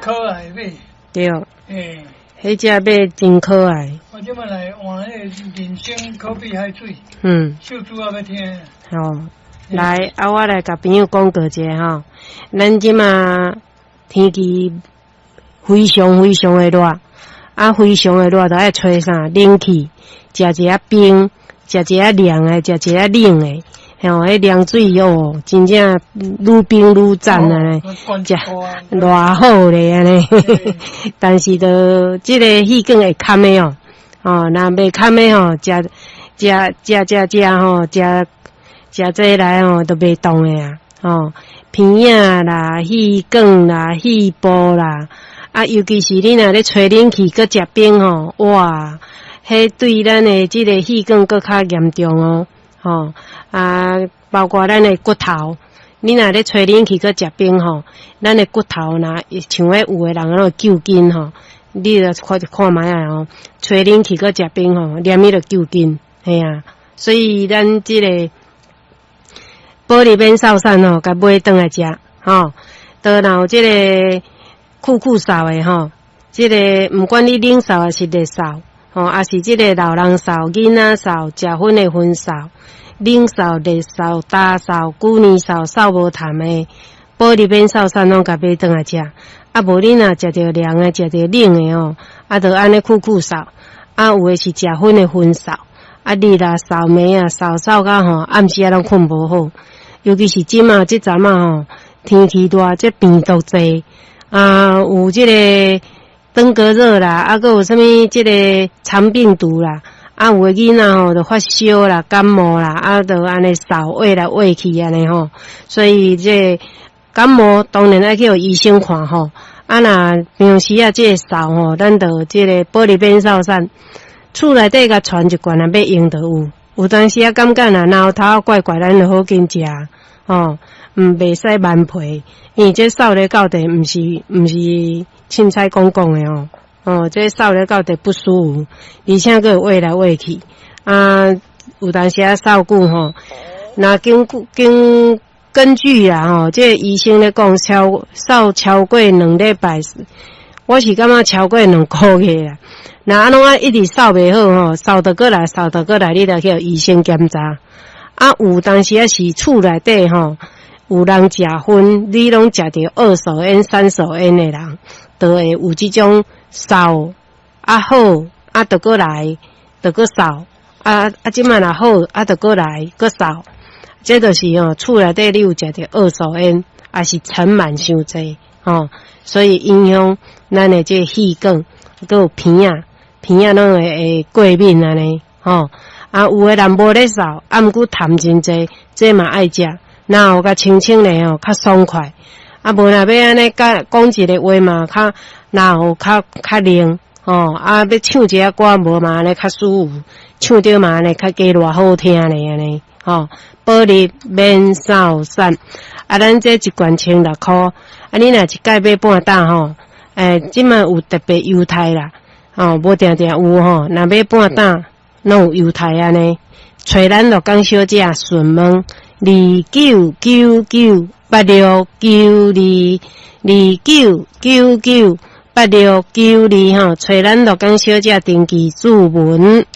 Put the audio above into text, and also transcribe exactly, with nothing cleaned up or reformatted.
可愛馬。對。欸。彼隻馬真可愛。我這擺來換彼個人參可比海水。嗯。秀珠仔欲聽。好，來，啊，我來共朋友講告一下吼。咱這馬天氣非常非常的熱，啊，非常的熱，就愛吹啥冷氣，食一下冰，食一下涼的，食一下冷的，吼，彼涼水哦，真正愈冰愈讚啊！食偌好咧按呢。但是著這个氣管會坎的哦，哦，若袂坎的吼，食食食食食吼，食食這來吼，都袂動的啊，吼，鼻仔啦、氣管啦、肺部啦，啊，尤其是你若咧吹冷氣，閣食冰吼，哇，彼對咱的這个氣管閣較嚴重哦，吼，啊，包括咱的骨頭，你若咧吹冷氣閣食冰吼，咱的骨頭若像彼有的人攏會揪筋吼，你著看看覓仔吼，吹冷氣閣食冰吼，連伊就揪筋，嘿啊，所以咱這个保利免瘦散吼，共買轉來食，吼，都若有這个酷酷嗽的吼，這个毋管你冷嗽抑是熱嗽，吼，抑是這个老人嗽、囡仔嗽、食薰的薰嗽、冷嗽、熱嗽、焦嗽、久年嗽、嗽無痰的，保利免嗽散攏共買轉來食。啊，無你若食著涼的、食著冷的吼，啊，就按呢酷酷嗽，啊，有的是食薰的薰嗽，啊，日啊嗽暝啊嗽嗽甲吼，暗時仔攏睏無好。尤其是這馬這陣仔吼，天氣熱，這病毒濟，啊，有這个登革熱啦，啊，閣有啥物這个腸病毒啦，啊，有的囡仔吼就發燒啦、感冒啦，啊，就按呢嗽穢來穢去按呢吼，所以這感冒當然愛去予醫生看吼。啊，若平常時啊，這个嗽吼，咱就這个保利免嗽散，厝內底共傳一罐啊，欲用就有。有當時仔感覺若嚨頭怪怪，咱就好緊食吼，毋袂使慢皮，因為這嗽咧到底毋是毋是凊彩講講的哦，哦，這嗽咧到底不舒服，而且閣會穢來穢去，啊，有當時仔嗽久吼，若經經根據啦吼，這個醫生咧講超嗽超過兩禮拜，我是感覺超過兩個月啦。若按怎啊一直嗽袂好吼，嗽著閣來，嗽著閣來，你著去予醫生檢查。啊，有當時仔是厝內底吼，有人食薰，你攏食著二手煙、三手煙的人，就會有這種嗽啊好，啊著閣來，著閣嗽，啊啊這擺若好，啊著閣來，閣嗽。這就是吼厝內底你有食著二手煙，抑是塵蟎傷濟吼，所以影響咱的這個氣管，閣有鼻仔，鼻仔攏會會過敏按呢吼。啊，有的人無咧嗽，啊，毋過痰真濟，這嘛愛食，然後共清清咧吼，較爽快。啊，無若欲按呢講講一个話嘛，較然後較較靈吼。啊，欲唱一下歌無嘛按呢較舒服，唱著嘛按呢較加偌好聽咧按呢吼。保利免嗽散，啊，咱這一罐千六箍，啊，你若一擺買半打吼，欸，這擺有特別優待啦，吼，無定定有吼，若買半打攏有優待按呢。揣咱鹿港小姐順問二九九九八六九二二九九九八六九二吼，揣咱鹿港小姐登記註文。